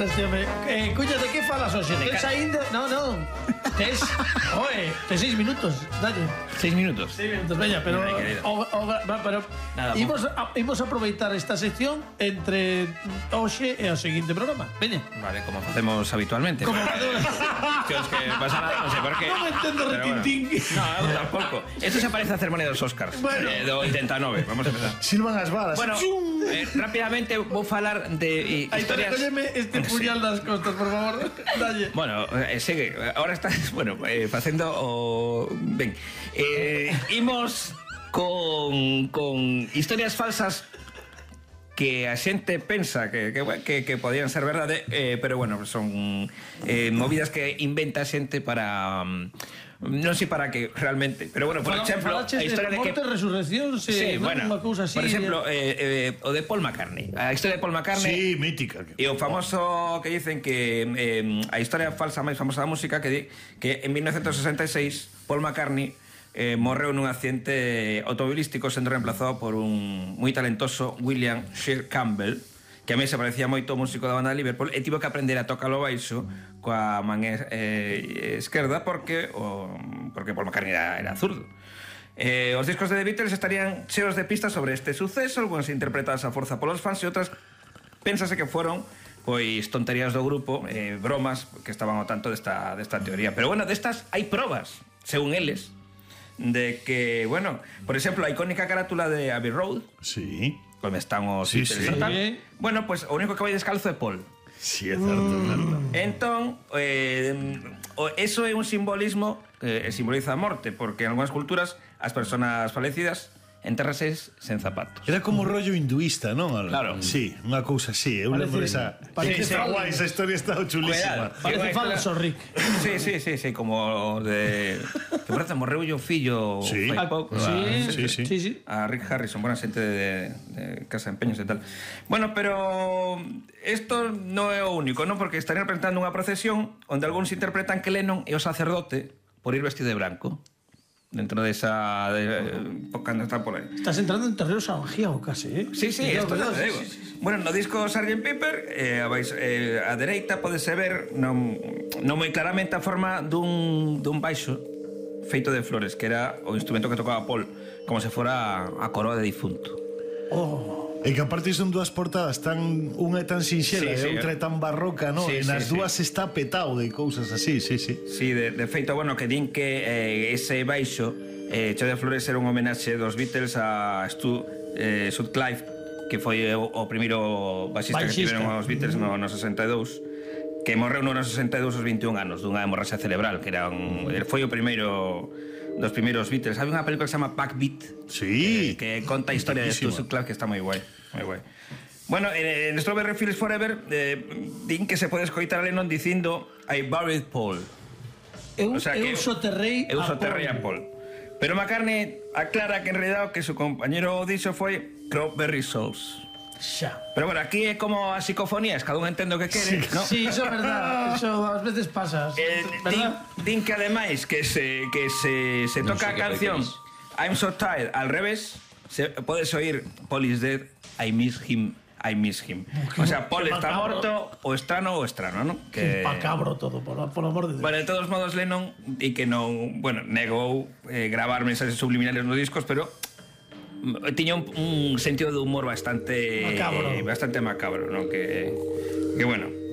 este hombre. Cuña, de que falas hoxe? Tes ainda? Non. Tes 6 minutos, dalle. 6 minutos. 6 minutos, veña, pero imos aproveitar esta sección entre hoxe e o seguinte programa. Veña. Vale, como facemos habitualmente. Como que os que pasa nada, non sei por qué. Non me entendo retintín. No, eu tampouco. Esto se parece a ceremonia dos Oscars. Bueno. Do 89, vamos a empezar. Silvan as balas. Bueno, rápidamente vou falar de historias. Recólleme este puñal das costas, por favor. Dalle. Bueno, segue. Ahora estás, bueno, facendo o... Ben, imos con historias falsas que a xente pensa que podían ser verdade, pero bueno, son movidas que inventa a xente para... non sei para que realmente, pero bueno, por exemplo, a historia de morte, resurrección, sí, bueno, unha cousa así. por exemplo, o de Paul McCartney. A historia de Paul McCartney. Sí, mítica. E o famoso que dicen que a historia falsa máis famosa da música que en 1966 Paul McCartney morreu nun accidente automobilístico sendo reemplazado por un moi talentoso William Shear Campbell, que a mí se parecía moito ao músico da banda de Liverpool, e tivo que aprender a tocar o baixo coa man esquerda porque Paul McCartney era zurdo. Os discos de The Beatles estarían cheos de pistas sobre este suceso, algunhas interpretadas a forza polos fans e outras pénsase que foron pois tonterías do grupo, bromas que estaban ao tanto desta teoría. Pero bueno, destas hai probas, según eles, de que, bueno, por exemplo, a icónica carátula de Abbey Road, Sí. como están os Sí, Beatles sí. e tal. Bueno, pues o único que vai descalzo é Paul. Sí, é certo. Entón, eso é un simbolismo que simboliza a morte, porque en algunhas culturas as persoas falecidas entérrases sen zapatos. Era como rollo hinduista, non? Claro. Sí, unha cousa así. Eu lembro esa... Está guai, esa historia está chulísima. Parece falso, Rick. Sí, como de... Que por certo, morreu o fillo Sí. fai pouco. Sí. A Rick Harrison, buena xente de Casa de Empeños e tal. Bueno, pero isto non é o único, non? Porque estarían representando unha procesión onde algúns interpretan que Lennon é o sacerdote por ir vestido de branco dentro de esa cando está por aí. Estás entrando en terreno salvajío casi, eh? Sí, esto te digo. Bueno, no disco Sgt. Pepper a dereita podese ver non moi claramente a forma dun baixo feito de flores, que era o instrumento que tocaba Paul, como se fora a coroa de difunto. E que aparte son dúas portadas unha é tan sinxela Sí, e outra é tan barroca, non? Sí, E nas sí, dúas está petado de cousas así, sí. Sí, de feito, bueno, que din que ese baixo cheo de flores era un homenaxe dos Beatles a Stu Sutcliffe, que foi o primeiro baixista que tiveron os Beatles no 62, que morreu no 62 aos 21 anos dunha hemorraxia cerebral, que foi o primeiro dos primeiros Beatles. Hai unha película que se chama Backbeat, Sí. que conta a historia de Stu Sutcliffe, que está moi guai, moi guai. Bueno, en Strawberry Fields Forever din que se pode escoitar a Lennon dicindo I buried Paul. Eu soterrei a Paul. Pero McCartney aclara que en realidad que su compañero dixo foi Strawberry Souls. Xa. Pero bueno, aquí é como as psicofonías, cada un entende o que quere, ¿no? Sí, eso é verdad. Eso ás veces pasa, ¿verdad? Din que ademais que se toca a canción I'm So Tired al revés, podes oír Paul is dead, I miss him. O sea, Paul está morto, o estrano, ¿no? Que macabro todo, por amor de Dios. Bueno, de todos modos, Lennon, e que non, bueno, negou gravar mensaxes subliminales nos discos, pero tiña un sentido de humor bastante macabro, ¿no? Que bueno.